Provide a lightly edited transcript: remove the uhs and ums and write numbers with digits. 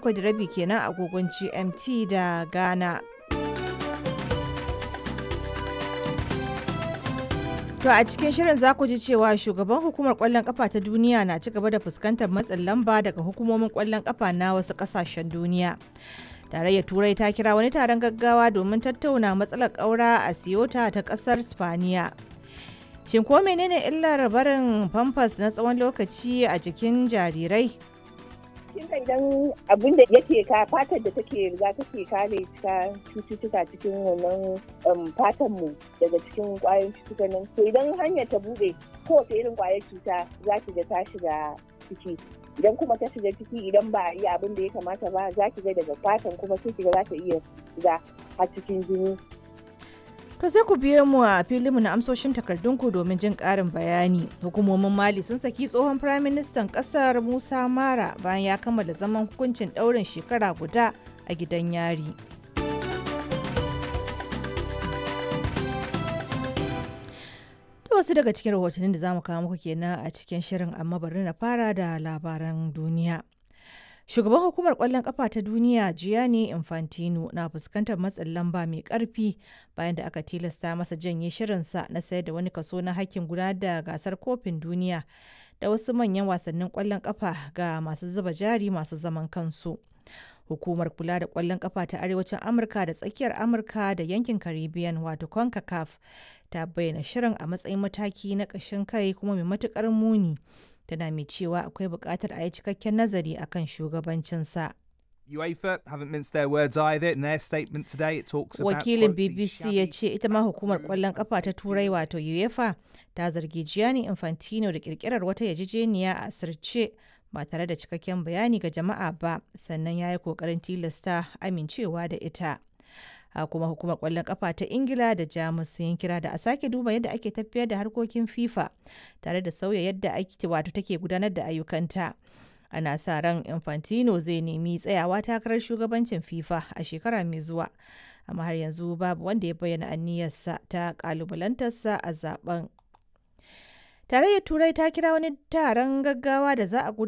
7:30 kenan agogon GMT da Ghana. To a cikin shirin za ku ji cewa shugaban hukumar kwallon kafa ta duniya na ci gaba da fuskantar matsin lamba daga hukumomin kwallon kafa na wasu kasashen duniya. Tarayyar Turai ta kira wani taron gaggawa domin tattauna matsalar ƙaura a Siyota ta ƙasar Spaniya. Shin ko menene illar barin famfas na tsawon lokaci a jikin jarirai? Kin ga idan abin da yake ka fatar da take riga take kare ka cututtuka cikin wannan fatan mu daga cikin kwayoyin cututtukan nan, to idan hanyar ta bude, kowace irin kwayar cuta za ki ga ta shiga ciki. Idan kuma ta shiga ciki, idan ba a yi abin da ya kamata ba, za ki ga daga fatan kuma sai ki ga za ta iya shiga har cikin jini. To sai ku biyo mu a filinmu na amsoshin takardunku domin jin ƙarin bayani. Hukumomin Mali sun saki tsohon firaministan ƙasar Musa Mara bayan ya kammala zaman hukuncin ɗaurin shekara guda a gidan yari. To wasu daga cikin rahotannin da za mu kawo muku kenan a cikin shirin, amma bari na fara da labaran duniya. Shugaban hukumar kwallon kafa ta duniya Gianni Infantino na fuskantar matsin lamba mai karfi bayan da aka tilasta masa janye shirinsa na sayar da wani kaso na hakkin gudanar da gasar kofin duniya da wasu manyan wasannin kwallon kafa ga masu zuba jari masu zaman kansu. Hukumar kula da kwallon kafa ta Arewacin Amurka da tsakiyar Amurka da yankin Caribbean, wato CONCACAF, ta bayyana shirin a matsayin mataki na ƙashin kai kuma mai matuƙar muni. Tana mai cewa akwai buƙatar a yi cikakken nazari akan shugabancinsa. UEFA haven't minced their words either. In their statement today, it talks about, Wakilin quote, the BBC ya shabby ce ita ma hukumar kwallon kafa ta Turai, wato UEFA, ta zargi Gianni Infantino da kirkirar wata yarjejeniya a asirce ba tare da cikakken bayani ga jama'a ba, sannan ya yi kokarin tilasta amincewa da ita. A kuma hukumar kwallon kafa ta Ingila da Jamus sun yi kira da a sake duba yadda ake tafiyar da harkokin FIFA tare da sauya yadda ake wato take gudanar da ayyukanta. Ana sa ran Infantino zai nemi tsayawa takarar shugabancin FIFA a shekara mai zuwa, amma har yanzu babu wanda ya bayyana aniyarsa ta kalubalantarsa a zaben. Tarayyar Turai ta kira wani taron gaggawa da za a gudanar